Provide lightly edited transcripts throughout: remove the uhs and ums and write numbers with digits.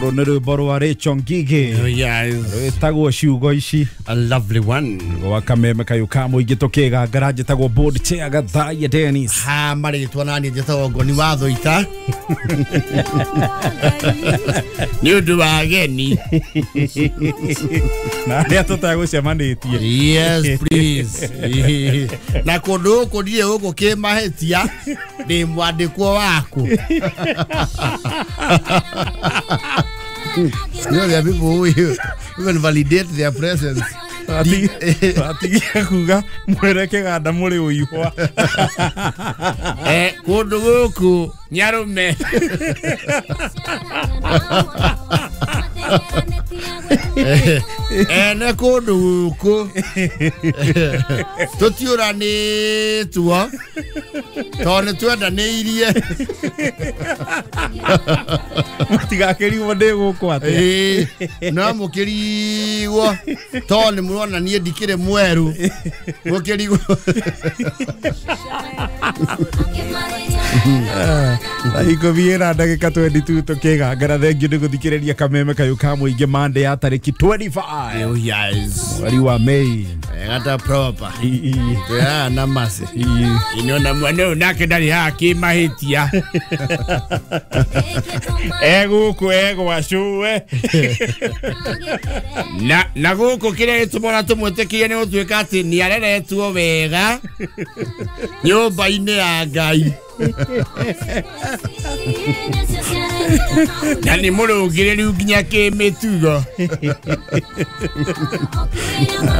Rũrũ nĩ rwĩmbo rwa Rachel Ngigĩ. Yes. Rwĩtagwo ciugo ici. A lovely one. Gwa kameme kayũ ka mũingĩ tũkĩgangara njĩtagwo board chair Gathaiya Dennis. Ha marĩtwa nani njĩtagwo Ngoni wa Thũita. Nĩ ũndũ wa ageni. Na arĩa tũtagũcemanĩtie. Yes, please. Na kũndũ gũkũ ndirĩ gũkũ kĩmahĩtia ndĩ mwandĩkwo waku. You know, there are people who even validate their presence. Atigia kuga mwere kĩganda mũrĩ ũihwa. Kũndũ gũkũ nyarume. Ene kũndũ gũkũ tũtiũranĩtwo tondũ nĩ twendanĩirie. Mũtigakĩrigwo ndĩ gũkũ atĩa. No mũkĩrigwo tondũ nĩ mũrona niĩ ndikĩrĩ mwerũ. Mũkĩrigwo. Thaa ikũmi na ndagĩka 22 tũkĩgangara. Thengiũ nĩ gũthikĩrĩria kameme kayũ ka mũingĩ Monday ya tarĩki 25. Oh, yes. Mweri wa May. Gata proper. Yeah, na masi. Ino na mwana ũyũ nake ndarĩ haha kĩmahĩtia. Egũkũ egwacũwe. Na gũkũ kĩrĩa gĩtũmaga tũmwĩtĩkie nĩ gũtuĩka atĩ nĩ areretwo wega nyũmba-inĩ ya Ngai. Na nĩ mũrũngĩrĩru nginya kĩmĩtugo.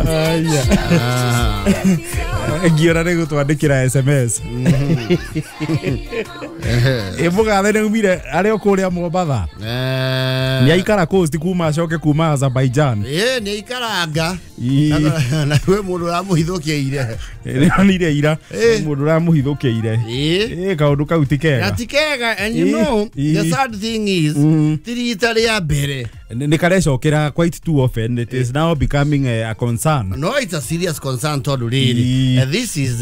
Aya. Ngiora nĩ gũtwandĩkĩra SMS. Ĩ mũgathe nĩ umire arĩ o kũrĩa Mombatha. Nĩ aikara coast kuma acoke kuma Azerbaijan. Nĩ aikaranga. Na kwĩ mũndũ ũramũhithũkĩire. Nĩonire ira mũndũ ũramũhithũkĩire. Kaũndũ kau ti kega. Na ti kega, and you know the sad thing is ti rita rĩa mbere. Nĩ karecokera quite too often. It is now becoming a concern. No, it's a serious concern tondũ rĩrĩ. This is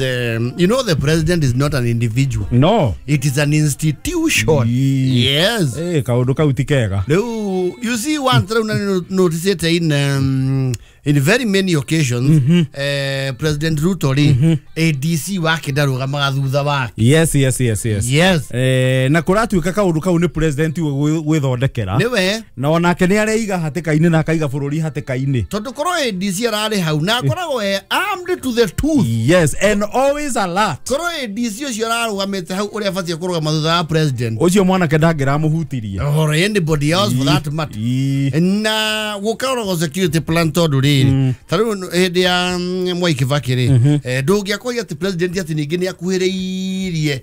you know, the president is not an individual. No. It is an institution. Yes. Kaũndũ kau ti kega. Rĩu you see one thing na notice in very many occasions, President Ruto ri ADC wake ndarũgamaga thutha wake. Yes, yes, yes, yes. Yes. Na kũratuĩka kaũndũ kau nĩ president gwĩthondekera. Nĩwe. Na onake nĩ areiga hatĩka-inĩ na akaiga bũrũri hatĩka-inĩ. Tondũ korwo ADC ararĩ hau na akoragwo e armed to the tooth. Yes, and always alert. Korwo ADC ũcio ararũgamĩte hau ũrĩa abatiĩ kũrũgama thutha wa president. Ũcio mwanake ndangĩramũhutirie. Or anybody else for that matter. Na gũkoragwo security plan tondũ rĩrĩ ta rĩu hĩndĩ ya Mwai Kibaki rĩ ndũngĩakoria atĩ president atĩ ningĩ nĩ akuhĩrĩirie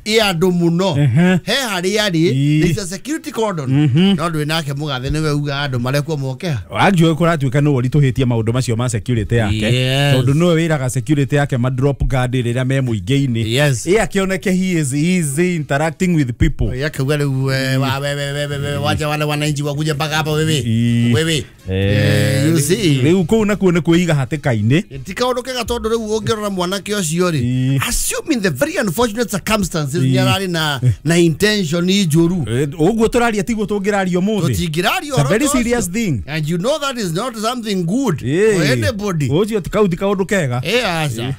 ĩ andũ mũno he harĩa arĩ there is a security cordon no ndwĩ nake mũgathe nĩwe uga andũ marekwo moke ha. Actually kũratuĩka nĩwe ũritũhĩtie maũndũ macio ma security yake tondũ nĩwe wĩraga security yake ma drop guard rĩrĩa me mũingĩ-inĩ. Ĩ akĩoneke he is easy interacting with people. Akauga rĩu wacha wale wananchi wakuja mpaka hapa wewe wewe. You see rĩu kũu nakuo nĩ kwĩiga hatĩka-inĩ. Ti kaũndũ kega tondũ rĩu ũngĩrora mwanake ũcio rĩ assuming the very unfortunate circumstances nĩ ararĩ na intention njũru. Ũguo tũraria tiguo tũngĩraria ũmũthĩ. Tũtingĩraria It's a very serious thing. And you know that is not something good for anybody. Ũcio ti kaũndũ kega. Aca.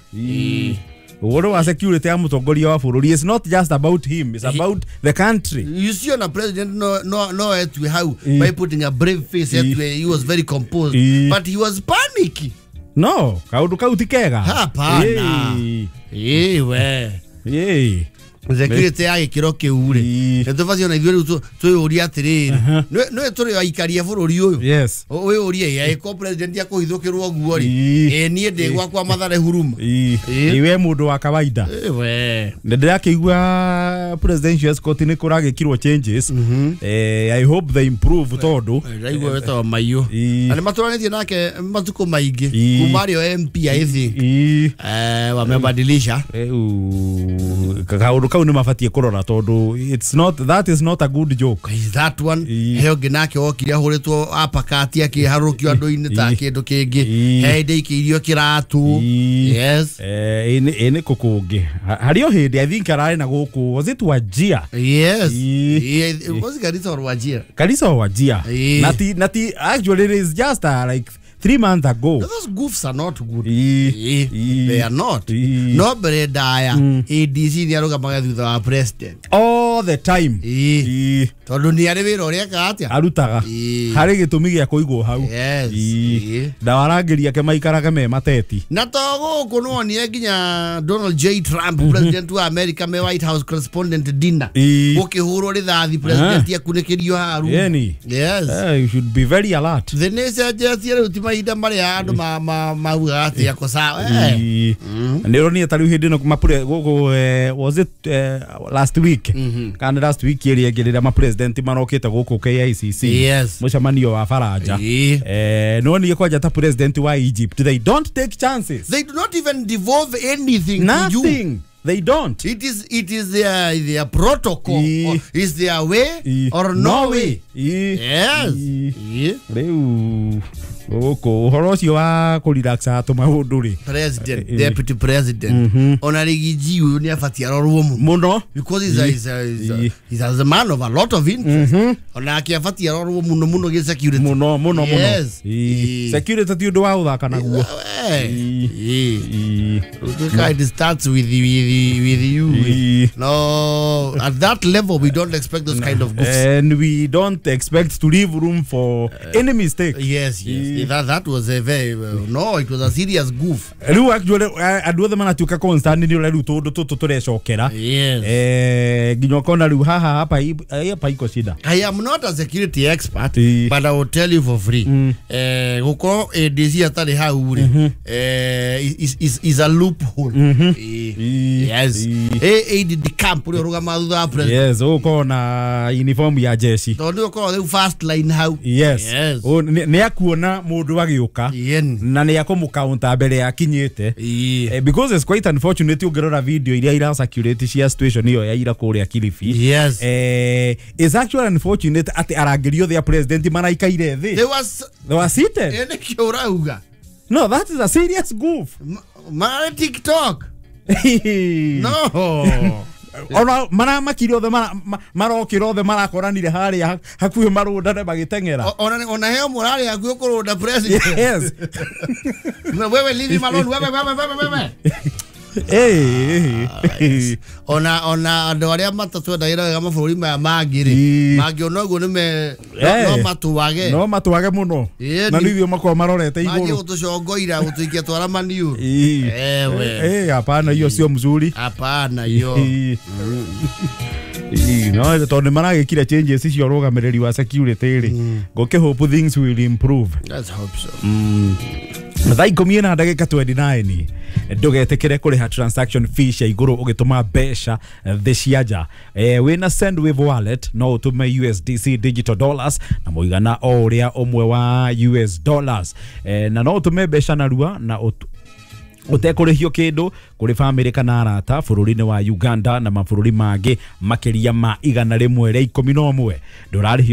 Ũhoro wa security ya mũtongoria wa bũrũri is not just about him, it's about the country. You see on a president no etwe how by putting a brave face etwe he was very composed but he was panicky. No, kaũndũ kau ti kega. Hapana. We. Security ya gĩkĩro kĩu rĩ nĩ tũbatiĩ ona ithuĩ rĩu twĩyũrie atĩrĩrĩ nĩ tũrĩ aikaria bũrũri ũyũ. Yes. Wĩyũrie ĩko president akũhithũkĩrwo ũguo rĩ niĩ ndĩ gwakwa Mathare huruma. Iwe mũndũ wa kawaida. We. Nĩ ndĩrakĩigua presidential escort nĩ kũragĩkirwo changes. I hope they improve tondũ ndaigua wetagwo Maiyũ na nĩ matũranĩtie nake matukũ maingĩ kuma arĩ o MP I think wamebadilisha. Kaũndũ kau nĩ mabatiĩ kũrora tondũ it's not, that is not a good joke. Is that one he ũngĩ nake wokire ahũrĩtwo apakati akĩharũkio andũ-inĩ ta kĩndũ kĩngĩ, he hĩndĩ ikĩirio kĩratũ. Yes. Ĩ nĩ kũ kũngĩ harĩ o hĩndĩ I think ararĩ na gũkũ, was it Wajir? Yes. Was it Garissa or Wajir? Garissa or Wajir. Nati actually it is just like 3 months ago. Those goofs are not good. They are not. No mbere ndaya ADC nĩ arũgamaga thutha wa president all the time. Tondũ nĩ arĩ wĩra ũrĩa ekaga atĩa arutaga harĩ gĩtũmi gĩa kũigwo hau. Yes. Ndawarangĩria ake maikarage me mateti. Na to gũkũ nĩwonire nginya Donald J Trump president wa America me White House correspondent dinner gũkĩhũrwo rithathi president akunĩkĩrio haru. Yes. You should be very alert. The nation cenjetie rĩu ti mahinda marĩa andũ maugaga atĩ ako sawa. Nĩ ũronire ta rĩu hĩndĩ ĩno mapure gũkũ, was it last week kana last week ĩrĩa ĩngĩ rĩrĩa mapresident marokĩte gũkũ KICC mũcemanio wa Faranja, no niĩ kwanja ta president wa Egypt, they don't take chances. They do not even devolve anything. Nothing. To you. They don't. It is their protocol. Or is their way or no way. Yes. Rĩu gũkũ ũhoro ũcio wa kũrelaxa tũmaũndũ rĩ, president, deputy president, ona Rigiji ũyũ nĩ abatie arorwo mũno because he's a man of a lot of interest. Ona ake abatie arorwo mũno mũno gĩ security mũno mũno mũno. Security ti ũndũ wa gũthaka naguo. It starts with you. No, at that level we don't expect those kind of goofs, and we don't expect to leave room for any mistake. Yes, yes. That was a very no, it was a serious goof. Rĩu actually andũ othe maratuĩka constant nĩ ũrĩa rĩu tũndũ tũtũ tũrecokera. Yes. Nginya ũkona rĩu haha hapa iko shida. I am not a security expert, but I will tell you for free. Gũkorwo ADC atarĩ hau rĩ, is a loophole. Yes. ADD camp ũrĩa ũrũgamaga thutha wa president. Yes, ũkorwo na uniform ya jeshi. Tondũ ũkorwo rĩu first line hau. Yes. Nĩ akuona mũndũ agĩũka na nĩ akũmũkaunta mbere akinyĩte. Because it's quite unfortunate ũngĩrora video iria ira circulate cia situation ĩyo ya ira kũrĩa Kilifi. Yes. It's actually unfortunate atĩ arangĩri othe a president maraikaire thĩ. They were seated. Nĩkĩo ũrauga. No, that is a serious goof. Mara TikTok. No. Ona maramakire othe marokire othe marakoranire haria hakuhĩ marũndane magĩteng'era. Ona heo mũrarĩ hakuhĩ kũrũnda president. Yes. Wewe leave him alone. Wewe. Ona andũ arĩa matatwendagĩra wega mabũrũri maya mangĩ rĩ, mangĩona ũguo nĩme no matwage. No matwage mũno. Na nĩ ithuĩ makorwo marorete igũrũ. Manjie gũtũcongoira gũtũikia twara maniũrũ. Ewe. Hapana hiyo sio mzuri. Hapana hiyo. No, tondũ nĩmaragĩkire changes icio ũrũgamĩrĩri wa security rĩ. Ngũkĩ hope things will improve. Let's hope so. Thaa 10:29 ndũgetĩkĩre kũrĩha transaction fee cia igũrũ ũgĩtũma mbeca thĩ cia nja. Wĩna Sendwave wallet no ũtũme USDC digital dollars na mũigana o ũrĩa ũmwe wa US dollars, na no ũtũme mbeca narua na ũtekũrĩhio kĩndũ kũrĩ bamĩrĩ kana arata bũrũri-inĩ wa Uganda na mabũrũri mangĩ makĩria ma 111. Ndũrarĩhio